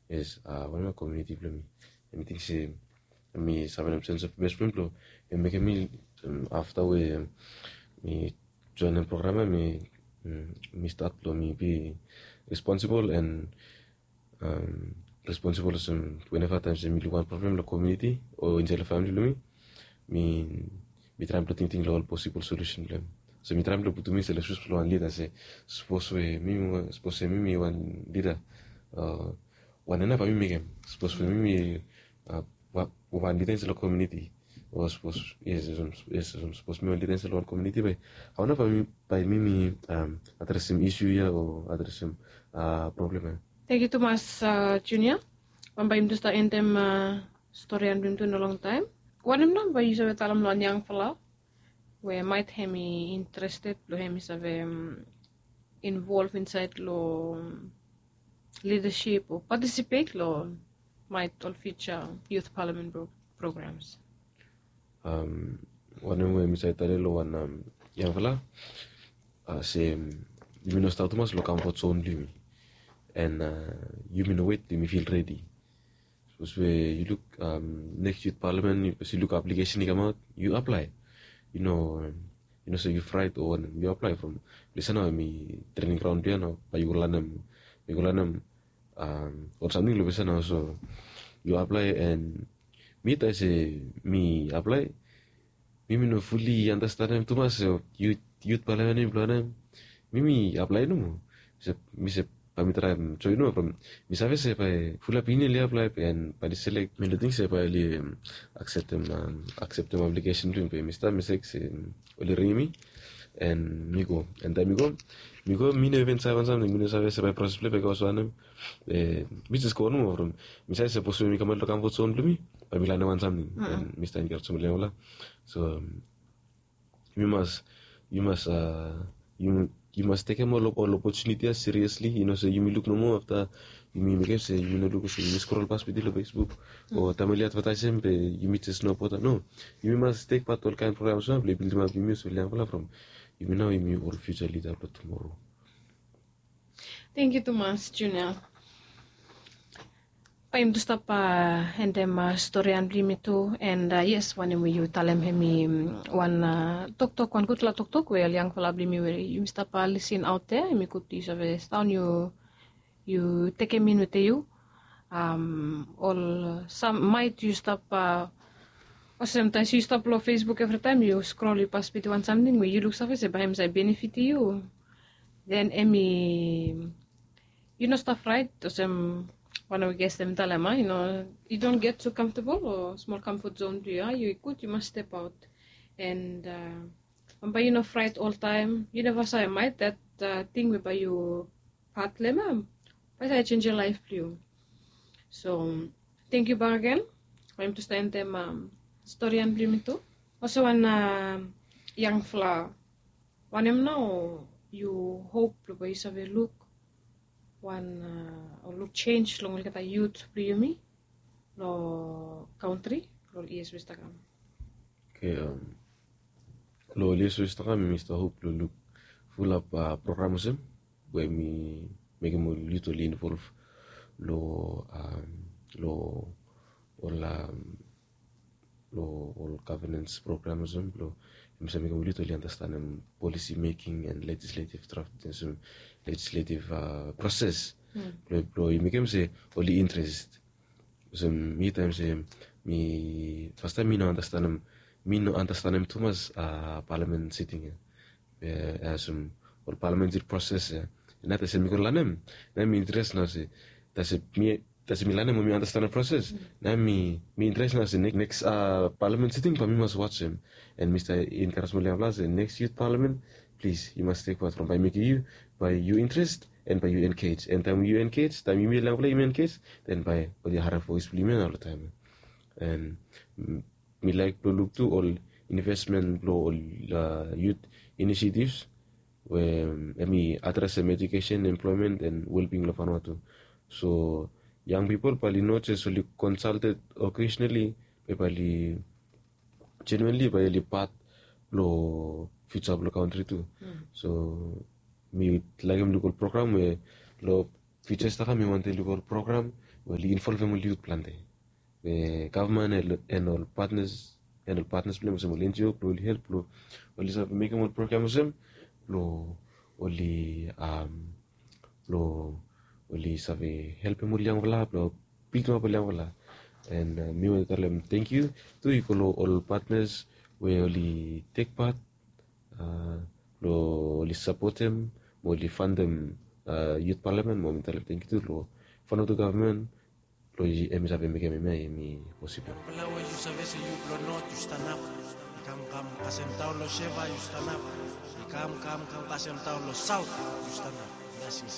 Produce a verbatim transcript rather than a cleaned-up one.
Yes, wanem ya, komuniti blong mi. Em i ting se em i save long sense of best friend blong em mekem mi afta we mi joinim program ya, mi mi start blong mi bi responsible and responsible olsem weneva taem se mi luk wan problem long komuniti o insait long famili blong mi, mi mi traem blong tingting long ol posibol solusen blong em. So mi traem blong putum miself long sus blong wan lida se sapos we mi sapos we mi mi wan lida, wanem nao bae mi mekem? Sapos we mi mi wan lida insait long komuniti, o sapos yes sapos mi wan lida insait long wan komuniti, bae wanem nao bae mi bae mi mi adresim isu ya o adresim problem ya? Tangkiu tumas, Junior. Bambae yumi tu stap endem storian blong yumi tu no longtaem. Wanem nao bae yu save talem long wan yangfala we maet hem i interested blong hem i save involv insait long lidasip o patisipet long maet ol fiuja yut palamen programs? Wanem we mi save talem long wan yangfala se yumi no stap tumas long kamfot zon blong yumi, and yumi no wet blong yumi fil redi. Sapos we yu luk neks yut palamen, yu luk aplikesen i kamaot, yu aplae. Yu no yu no se yu fraet o wanem, yu aplae from ples ya nao em i trening graon blong yu ya nao, bae yu go lanem yu go lanem ol samting long ples ya nao. So yu aplae, and mi taem se mi aplae, mi mi no fuli andastanem tumas yut palamen blong wanem. Mi mi aplae nomo. Mi se bae mi traem joen nomo from mi save se bae fulap yumi oli aplae and bae oli selek. Mi no ting se bae oli akseptem akseptem aplikesen blong yumi, be mi stap mi sek se oli ringim mi and mi go. And taem mi go mi go mi no even save wan samting, mi no save se bae proses blong bae i go olsem wanem. Mi jes go nomo from mi save se sapos we mi kamaot long kamfot zon blong mi, bae mi lanem wan samting. And mi stap enkarejem long yangfala. So yumi mas yumi mas yumi mas tekem ol opotuniti ya siriesli. Yu no se yumi luk nomo afta yumi mekem se yumi no luk olsem yumi skrol pas blong yu long Facebook o taem oli advataesem be yumi jes no bota. No, yumi mas tek pat olkaen program ya blong i bildimap yumi olsem ol yangfala from yumi nao yumi ol fiuja lida blong tumoro. Tangkiu tumas, Junior. Bae yumi tu stap endem storian blong yumi tu. And yes, wanem we yu talem hem i wan toktok, wan gudfala toktok we ol yangfala blong yumi we yumi stap lisin aot ya, hem i gud yu save sidaon yu yu tekem in wetem yu. Ol sam maet yu stap olsem taem yu stap long Facebook evritaem yu skrol yu pas wetem wan samting we yu luksave se bae hem save benefitim yu. Then hem i yu no stap fraet olsem wanem we ges hem i talem, a, yu no, yu don't get too comfortable o smol comfort zone blong yu, a, yu i gud yu mas step aot. And bambae yu no fraet oltaem, yu neva save maet that ting we bae yu pat long hem ya bae i save jenjem laef blong yu. So tangkiu bakegen. Bae yumi tu stap endem storian blong yumi tu. Olsem wan yangfala, wanem nao yu hop blong bae yu save luk wan o luk jenis long olgeta yut blong yumi long kantri long ol yias we stap kam? Oke, long ol yias we stap kam mi stap hop long luk fulap program olsem we mi mekem ol yut oli involv long long ol long ol governance program olsem blong yumi save mekem ol yut oli andastanem policy making and legislative draft olsem legislative proses blong i mekem se oli interest. Olsem mi taem se mi fastaem mi no andastanem mi no andastanem tumas palamen siting ya. Be olsem ol palamen siting proses ya, na taem se mi go lanem, na mi interes nao se taem se mi taem se mi lanem o mi andastanem proses, na mi mi interes nao se neks neks palamen siting bae mi mas wajem. And mi stap enkarejem ol yangfala se neks yut palamen, plis yu mas tek pat from bae i mekem yu bae yu interes and bae yu engej. And taem yu engej, taem yumi ol yangfala yumi engej, then bae oli harem voes blong yumi ya nao oltaem. And mi laek blong luk tu ol investment blong ol yut initiatives we hem i adresem education, employment and wellbeing long Vanuatu. So yang pipol bae oli no jes oli consulted occasionally, be bae oli genuinely bae oli pat blong fiuja blong kantri tu. So mi laekem luk ol program we long fiuja i stap kam mi wantem luk ol program we oli involvem ol yut plante. We gavman en ol patnas en ol patnas blong hem olsem ol NGO blong oli help blong oli save mekem ol program olsem blong oli blong oli save helpem ol yangfala blong bildimap ol yangfala. En mi we talem tengkiu tu i go long ol patnas we oli tek pat blong oli sapotem mo oli fandem yut palamen mo mi talem tengkiu tu long Vanuatu gavman blong em i save mekem hemia i posibol. Yangfala we yu save se yu blong not yu stanap. I kam kam kasem taon long seva yu stanap. I kam kam kam kasem taon long saut yu stanap. Blesings.